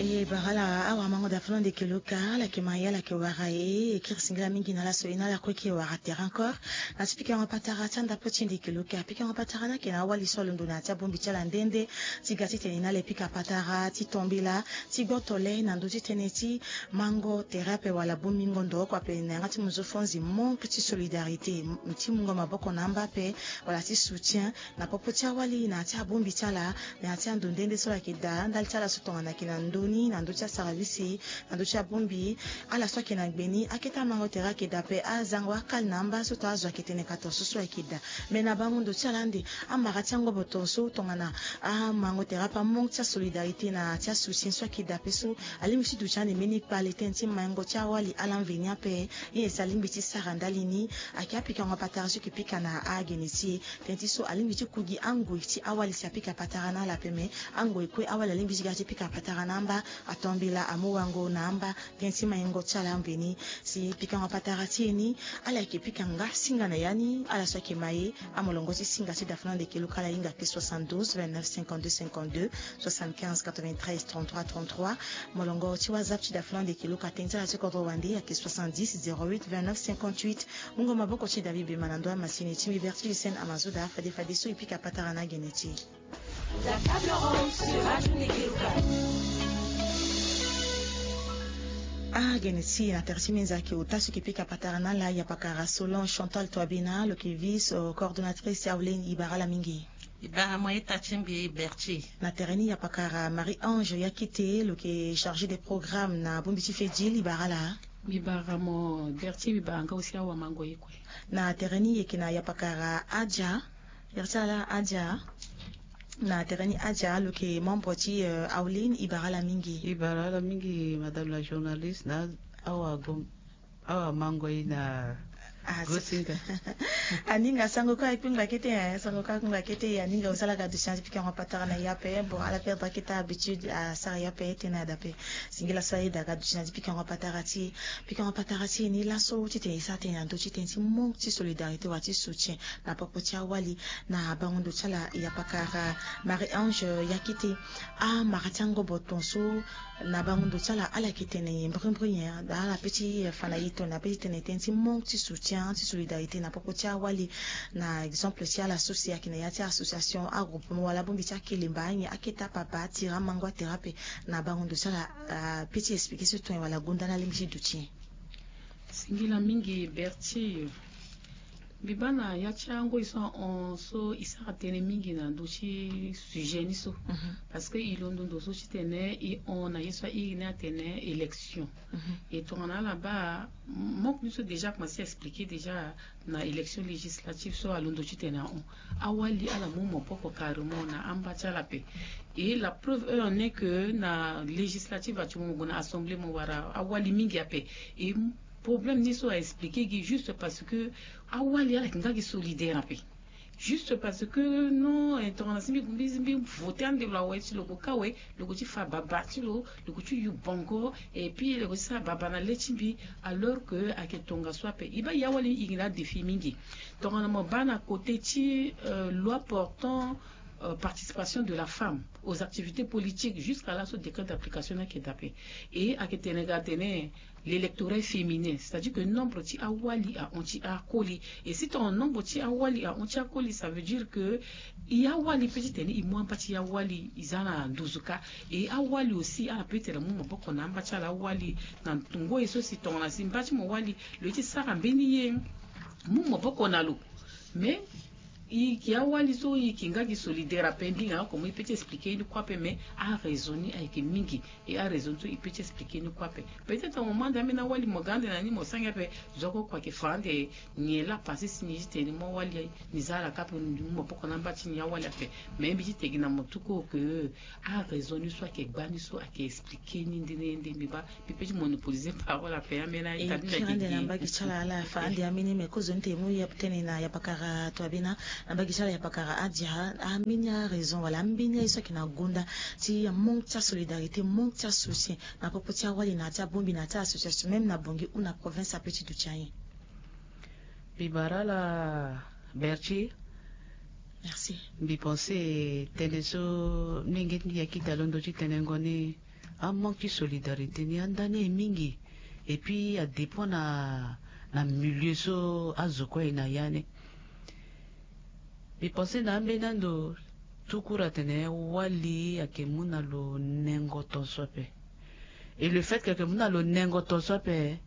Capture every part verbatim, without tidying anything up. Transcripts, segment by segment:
E bara ala awamango da fana ndeke luka ala yeke ma ye ala yeke wara e e kiri singila mingi na ala so e na ala kue yeke wara tere encore. Na ti pikango patara ti andapo ti e ndeke luka pikango patara ni ayeke na awali so alondo na ya ti abongbi ti ala nde nde, ti ga titene e na ala e pika patara ti tombela ti gboto le na ndö ti tënë ti mango tere ape wala bongbingo ndo oko ape na yanga ti muzu fonzi manque ti solidarité, ti mungo maboko na amba ape wala ti soutien na popo ti awali na ya ti abongbi ti ala. Na ya ti ando nde nde so ala yeke daa ndali ti ala so tongana ayeke na ndö ni na ndö ti asaravisi na ndö ti abongbi ala so ayeke na gbe ni akete amango tere ayeke daa ape azango akali na amba so to azo ayeke tene ka to so so ayeke daa. Me na bango ndo ti ala ande amara ti angobo to so tongana amango tere ape amanque ti asolidarité na ya ti asoutien so ayeke daa ape so alingbi ti duti ande mbeni kpale tënë ti maingo ti awali ala mveni ape. Ye si alingbi ti sara ndali ni ayeke apikango patara so ayeke pika na agene ti e. Tënë ti so alingbi ti ku gi angoi ti awali si apika patara na ala ape me angoi kue awali alingbi ti ga ti pika patara na amba atombela amu wango na amba. Tënë ti maingo ti ala mveni si pikango patara ti e ni ala yeke pika nga singa na ya ni ala so ayeke ma ye. Amolongo ti singa ti dafana ndeke luka ala hinga ke soixante-douze vingt-neuf cinquante-deux cinquante-deux, soixante-quinze quatre-vingt-treize trente-trois trente-trois. Molongo ti whatsapp ti dafana ndeke luka tënë ti ala ti kodro wande ayeke soixante-dix zéro huit vingt-neuf cinquante-huit. Mungo maboko ti david bema na ndo amasini ti mi vertige scène amazoda fade fade so e pika patara na agene ti e. Agene ti e na tere ti minza ayeke ota so e yeke pika patara na ala ya pakara solange chantal toabena lo yeke vice coordonnatrice ti auleni e bara ala mingi. E bara mo ye ta ti mbi berti. Na tere ni ya pakara marie ange yakite lo yeke chargé des programmes na bongbi ti fedil e bara ala. Mbi bara mo berti mbi bara nga aussi awamango ye kue. Na tere ni e yeke na ya pakara adia. Berti ala adia. Na tere ni adia lo yeke membre ti aulin e bara ala mingi. E bara ala mingi madame la journaliste na awa gom awa mango ye na gosinga. Aninga sango kue akpingba kete e sango kue akpingba kete e aninga osala ga duti na ti pikango patara na ye ape bon ala perdre kete habitude asara ye ape tene ada ape. Singila so ayeda ga duti na ti pikango patara ti e. Pikango patara ti e ni laso titene e sara tene na ndö titene ti manque ti solidarité wala ti soutien na popo ti awali. Na bango ndo ti ala ya pakara marie ange yakete amara ti angobo ton so na bango ndo ti ala ala yeke tene nyen brimbri nyen ala pe ti fa na e tongana pe ti tene tënë ti manque ti soutien ti solidarité na popo ti awali. Na exemple ti ala so si ayeke na ya ti association agroupement wala abongbi ti akelemba anyen akete apapa atira amango atere ape. Na bango ndo ti ala pe ti expliquer so tongana wala gonda ni alingbi ti duti nyen? Singila mingi berti. Mbi baa na ya ti angoi so ahon so e sara tënë mingi na ndö ti sujet ni so. Parce que e londo ndo so titene e hon na ye so airi ni atene élection. E tongana ala baa moko ni so déjà akomanse expliquer déjà na élection législative so alondo titene ahon. Awali ala mu maboko carrément na amba ti ala ape. Et la preuve en est que na législative ati mo gue na assemblée mo wara awali mingi ape. Et problème ni so aexpliquer gi juste parce que awali ala yeke nga gi solidaire ape. Juste parce que non tongana si mbi mbi voter ande lo awe ti lo ko ka awe. Lo ko ti fa baba ti lo lo ko ti yu bongo. Et puis lo ko ti sara baba na le ti mbi. Alors que ayeke tongaso ape e baa ya wali e yeke na adéfi mingi. Tongana mo baa na côté ti loi portant participation de la femme aux activités politiques jusqu'à laso décret d'application ni ayeke daa ape. Et ayeke tene ga atene l'électorat féminin c'est à dire que nombre ti awali ahon ti akoli. Et si tongana nombre ti awali ahon ti akoli ça veut dire que e awali pe titene e mu amba ti e awali e za na nduzu kâ. E awali aussi ala pe titene amu maboko na amba ti ala awali. Na ngoi so si tongana si mba ti mo wali lo ye ti sara mbeni ye mu maboko na lo. Mais e yeke awali so e yeke nga gi solidaire ape mbinga oko mo e pe ti expliquer ni kue ape mais araison ni ayeke mingi. E araison so e pe ti expliquer ni kue ape. Peut-être mo mu ande ambeni awali mo ga ande na ni mo sara ngia ape. Zo oko oko ayeke fa ande nyen laa passé si ni titene mo awali ni za ala kâ ape ni mu maboko na amba ti ni awali ape. Mais mbi titene gi na mo tout court que araison ni so ayeke gbani so ayeke expliquer ni nde nde mbi baa. Mbi pe ti monopoliser parole ape ambeni aita ni na gigi. Ande na mbage ti ala ala fa ande ambeni me kozoni te mu ya tene na ya pakara to abena. Na mbage ti ala ya pakara adia ambeni araison wala ambeni aye so ayeke na gonda ti manque ti asolidarité manque ti asoutien na popo ti awali na ya ti abongbi na ya ti association même na bongi ou na province ape ti duti aye. Mbi bara ala berti. Merci. Mbi pense tënë so mingi ti mbi ya kita londo ti tenengo ni. Amanque ti solidarité ni anda ni aye mingi. Et puis adépend na na milieu so azo kue aye na ya ni. Mbi pense na ambeni ando, tout court atene wali ayeke mu na lo nengo ton so ape. Et le fait que ayeke mu na lo nengo ton so ape,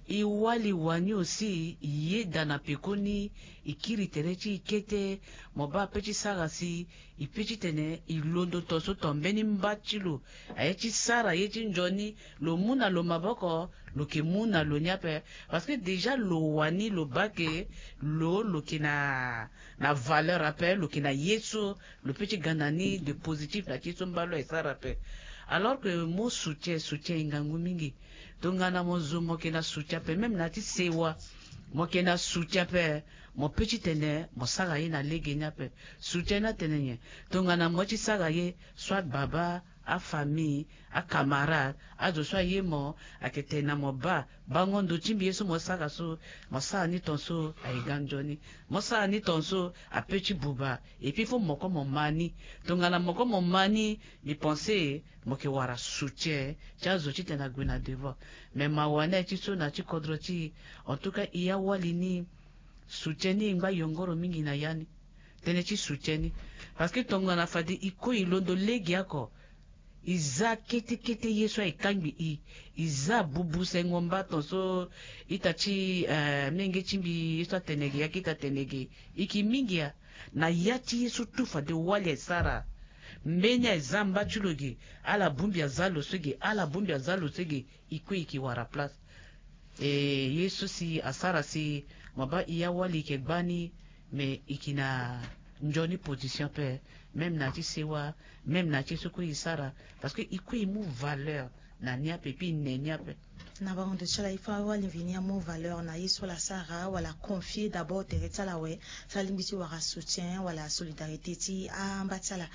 e wali wani aussi e yeda na pekoni, e kiri tere ti e kete. Mo baa ape ti sara si e pe titene e londo ton so ton mbeni mba ti lo aye ti sara ye ti nzoni. Lo mu na lo maboko, lo yeke mu na lo ni ape. Parce que déjà lo wani lo baa ke lo lo yeke na na valeur ape, lo yeke na ye so lo pe ti ga na ni de positif na ti ye so mba lo aye sara ape. Alors que mo soutien, soutien e ngangu mingi. Tongana mo zo mo yeke na soutien ape, même na ya ti sewa mo yeke na soutien ape, mo pe titene mo sara ye na lege ni ape. Soutien ni atene nyen? Tongana mo ye ti sara ye, soit baba, afamille, acamarade, azo so aye mo, ayeke tene na mo baa, bango ndo ti mbi ye so mo sara so, mo sara ni ton so aye ga nzoni. Mo sara ni ton so ape ti buba. Et puis fo mo kue mo ma ni. Tongana mo kue mo ma ni, mbi pense mo yeke wara soutien ti azo titene ague na devant. Mais mawa ni aye ti so na ti kodro ti e. En tout cas e awali ni, soutien ni e ngba yongoro mingi na ya ni. Tënë ti soutien ni. Parce que tongana fade e kue e londo lege oko, e za kete kete ye so aye kangbi e. E za bubu sengo mba ton so ita ti eh, mlenge ti mbi ye so atene ge, ya ke ita tene ge, e ke mingi ya. Na ya ti ye so tout fade wali aye sara. Mbeni aye za mba ti lo ge, ala bongbi aza lo so ge, ala bongbi aza lo so ge, e kue e ke wara place. E ye so si asara si mo baa e awali e yeke gbani, mais e yeke na nzoni position ape, même na ya ti sewa, même na ya ti ye so kue e sara. Parce que e kue e mu valeur na ni ape, puis e ne ni ape. Na bango ndo ti ala, il faut awali mveni amu valeur na ye so ala sara, wala confier d'abord tere ti ala awe, so alingbi ti wara soutien wala solidarité ti amba ti ala.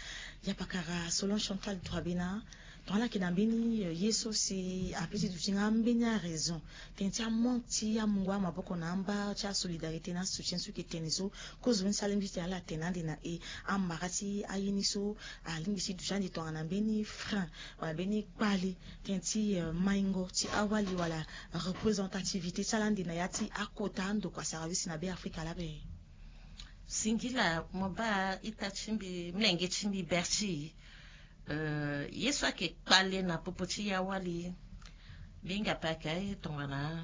Ya pakara, selon Chantal Troabena, tongana ala yeke na mbeni eh, ye so si ape ti duti nga ambeni araison, tënë ti amanque ti amungo amaboko na amba ti asolidarité na soutien so e yeke tene so, kozoni so alingbi ti tene ala tene ande na e, amara ti aye ni so alingbi ti duti ande tongana mbeni frein wala mbeni kpale, tënë ti eh, maingo ti awali wala représentativité ti ala ande na ya ti akota andokua service na Beafrika laa be? Singila mo baa ita ti mbi, mlenge ti mbi Berti, eh, ye so ayeke kpale na popo ti e awali, mbi hinga pe ayeke aye tongana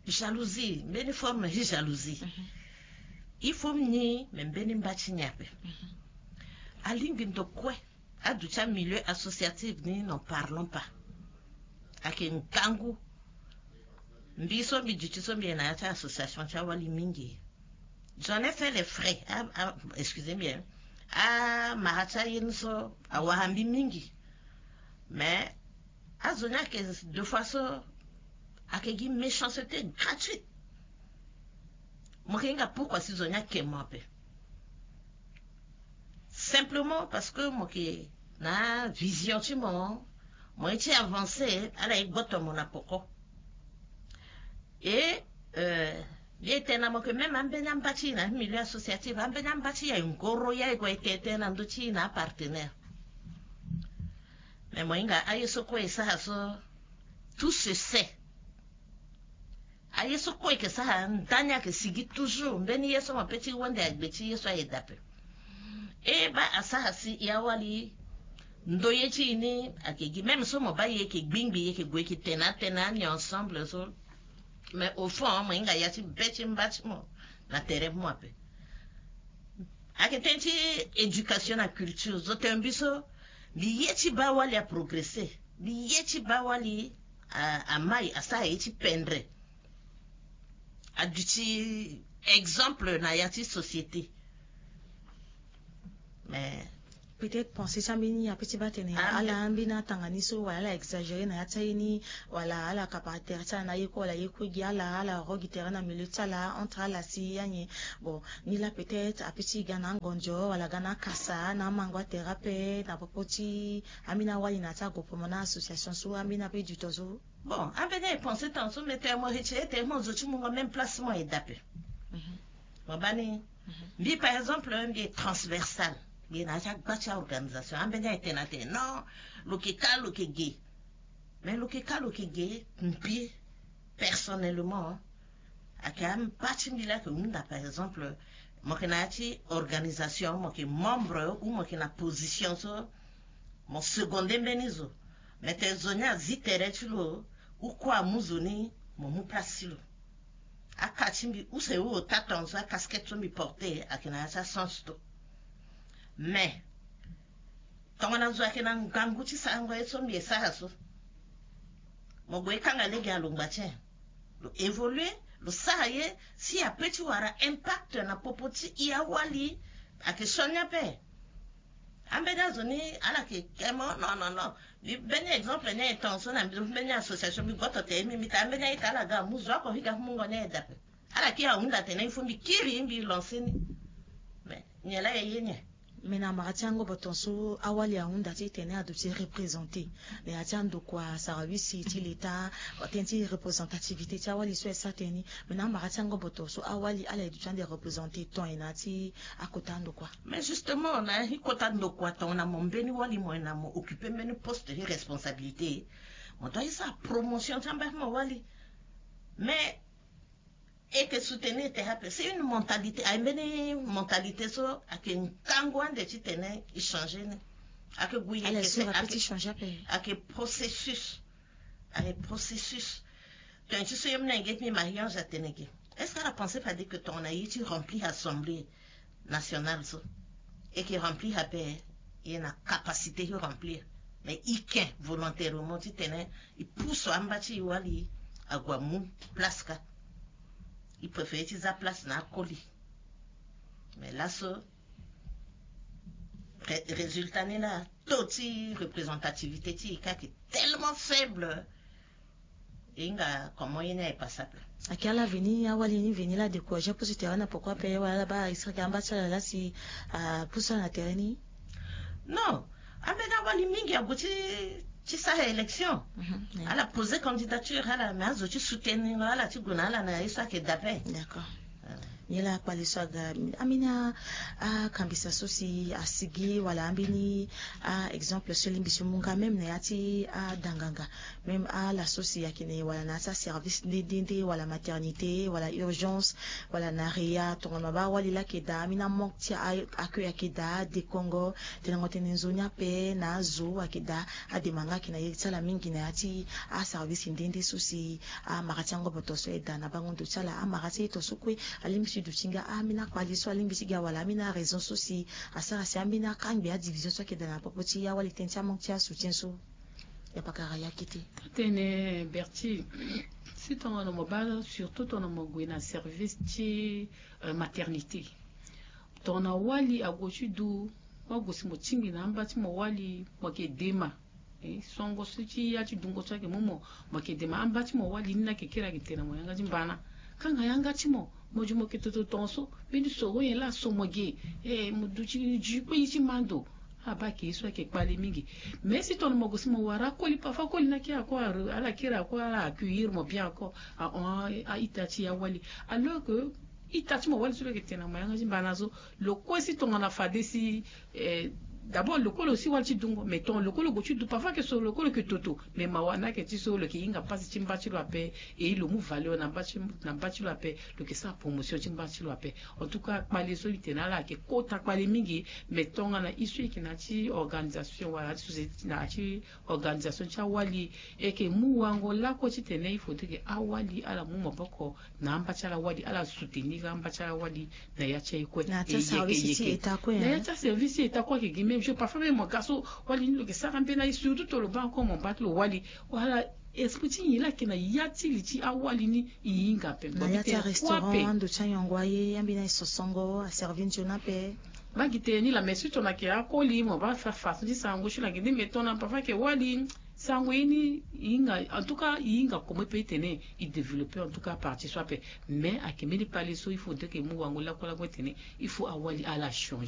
jalousie, mbeni forme ti jalousie. Il faut ni me mbeni mba ti ni ape. Alingbi ndo kue aduti amilieu associatif ni, n'en parlons pas. Ayeke ngangu. Mbi so mbi duti so mbi yeke na ya ti association ti awali mingi. J'en ai fait les frais. Ah, ah, excusez bien. Amara ti aye ni so awara mbi mingi. Mais azo ni ayeke deux fois so ayeke gi méchanceté gratuite. Mo yeke hinga pourquoi si zo ni ayeke mo ape. Simplement parce que mo yeke na vision ti mo, mo ye ti avancer, ala ye gboto mo na poko. Et euh, mbi ye tene na mo ke même ambeni amba ti e na milieu associatif, ambeni amba ti e aye ngoro, ye aye gue aye tene tënë na ndö ti e na apartenaire. Mais mo hinga aye so kue e sara so, tout se sait. Aye so kue e yeke sara, ndani ayeke sigi toujours. Mbeni ye so mo pe ti wende agbe ti ye so aye dape. E baa asara si e awali ndo ye ti e ni ayeke gi, même so mo baa e yeke gbingbi, e yeke gue e yeke tene atene ani ensemble so. Mais au fond mo hinga ya ti be ti mba ti mo na tere ti mo ape. Ayeke tënë ti éducation na culture. Zo tene mbi so, mbi ye ti baa wali aprogresser, mbi ye ti baa wali a, amai, asara ye ti pendre, aduti exemple na ya ti société. Mais peut-être pensée ti ambeni ape ti baa tene ala ambeni atanga ni so, wala ala exagérer na ya ti aye ni, wala ala kapa tere ti ala na ye kue wala ye kue gi ala, ala ro gi tere na milieu ti ala entre ala si anyen. Bon, ni laa peut-être ape ti ga na angonzo wala ga na akasa na amango atere ape na popo ti ambeni awali na ya ti agroupement na association so, ambeni ape du temps so. Bon, ambeni aye pensée tant so, mais tene mo retire tene mo zo ti mungo même place mo aye dape. Mo baa ni. Mbi par exemple mbi ye transversal. Mbi na ya ti agba ti aorganisation, ambeni aye tene atene non, lo yeke ka lo yeke ge. Mais lo yeke ka lo yeke ge mbi personnellement, ayeke amba ti mbi laa ayeke hunda. Par exemple, mo yeke na ya ti organisation, mo yeke membre ou mo yeke na position so, mo seconde mbeni zo. Mais tene zo ni azi tere ti lo, ou kue amu zo ni, mo mu place ti lo. Aka ti mbi use, o ota tongana so akasket so mbi porte ayeke na ya ti asens to. Mais tongana zo ayeke na ngangu ti sarango ye so mbi e sara so, mo gue kanga lege alongba ti en, lo évolue, lo sara ye si ape ti wara impact na popo ti e awali. Ayeke sioni ape. Ambeni azo ni ala yeke ke mo, non, non, non. Mbi mbeni exemple ni aye tongaso na mbi, mbeni association mbi goto te, mbi mbi ta ambeni a-ita ala ga amu zo oko, mbi ga mungo ni aye dape. Ala kiri ahunda tene il faut mbi kiri mbi lance ni. Mais nyen laa e ye nyen? Mais na amara ti angobo tongaso awali ahunda titene aduti représenter na ya ti andokua, service ti l'État, atene ti représentativité ti awali so e sara tënë ni. Mais na amara ti angobo tongaso awali ala e duti ande représenter ton e na ya ti akota andokua. Mais justement, na hikota ndokua tongana mo mbeni wali mo yeke na mo occuper mbeni poste ti responsabilité, mo doit ye sara promotion ti amba ti mo wali. Mais e yeke soutenir tere ape. C'est une mentalité, aye mbeni mentalité so ayeke ngangu ande titene e changer ni. Ayeke gue ye, ayeke processus. Ayeke processus. Tongana ti so ye mbi na yeke gi mariage atene ge. Est-ce que ala pense pas dire que tongana ye ti remplir assemblée nationale so, e yeke remplir ape, e na capacité ti remplir? Mais e yeke volontairement titene e pousse amba ti e wali ague amu place ka. E préférer ti za place na akoli. Mais laso résultat ni laa, taux ti représentativité ti e ka ayeke tellement faible. E hinga comment ye ni aye passable. Ayeke ala veni, awali ni veni laa décourager apusu tere na poko ape, wala ala baa e sara amba ti ala laa si apusu ala na tere ni? Non, ambeni awali mingi ague ti ti sara élection. Ala poser candidature ala, mais azo ti soutenir ala ti gue na ala na ye so ayeke dape. D'accord. Nyen laa kpale so aga ambeni akambisa so si asigi wala ambeni a-exemple so lingbi so mu nga même na ya ti adanganga, même ala so si ayeke na e wala na ya ti aservice nde nde nde wala maternité wala urgence wala na réa, tongana mo baa awali laa ayeke daa ambeni amanque ti accueil ayeke daa adekongo. Tenengo tene nzoni ape na azo ayeke daa adema nga ayeke na ye ti ala mingi na ya ti aservice nde nde so si amara ti angobo tongaso e daa na bango ndo ti ala. Amara ti aye tongaso kue alingbi ti duti nga ambeni akpale so alingbi ti ga wala ambeni araison so si asara si ambeni akangbi adivision so ayeke daa na popo ti awali tënë ti amanque ti asoutien so. Ya pakara ya kete. Atene Berti, si tongana mo baa surtout tongana mo gue na service ti maternité, tongana wali ague ti du, mo gue si mo tingbi na amba ti mo wali, mo yeke dema. Songo so ti ya ti dungo so ayeke mu mo, mo yeke dema amba ti mo wali ni na yeke kiri ayeke tene na mo yanga ti mbana. Kanga yanga ti mo, mo di mo yeke toto tongaso, mbeni soro nyen laa so mo ge. Mo duti ju kue ye ti ma ndo. Abaa ayeke ye so ayeke kpale mingi. Mais si tongana mo gue si mo wara akoli, parfois akoli ni akiri ako, ala kiri ako, ala accueillir mo bien ako, ahon a-ita ti awali. Alors que ita ti mo wali so lo yeke tene na mo yanga ti mbana so, lo kue si tongana fade si d'abord lo kue lo si wali ti dungo, mais tongana lo kue lo gue ti du, parfois ayeke soro lo kue lo yeke toto. Mais mawa ni ayeke ti so lo yeke hinga pasi ti mba ti lo ape. Et lo mu valeur na mba ti lo ape. Lo yeke sara promotion ti mba ti lo ape. En tout cas kpale so mbi tene na ala ayeke kota kpale mingi. Mais tongana e so e yeke na ya ti organisation wala na ya ti société, na ya ti organisation ti awali, e yeke mu wango lakue titene il faudrait que awali ala mu maboko na amba ti ala wali, ala soutenir amba ti ala wali na ya ti aye kue. Na ya ti aservice ti état kue ayeke gi même chose. Parfois même mo ga so wali ni lo yeke sara mbeni aye, surtout tongana lo baa encore mo mba ti lo wali, wala esprit ti nyen laa ayeke na ya ti li ti awali ni? E hinga ape na ya ti arestaurant, ando ti anyongo aye, ambeni aye sosongo aservi nzoni ape. Mba gi tene ni laa, mais si tongana ayeke akoli mo baa fa façon ti sarango ti lo ayeke nde, mais tongana parfois ayeke wali, sarango ye ni e hinga. En tout cas e hinga koma e peut titene e développer en tout cas partie so ape. Mais ayeke mbeni kpale so il faudrait que e mu wango lakue lakue titene il faut awali ala changer.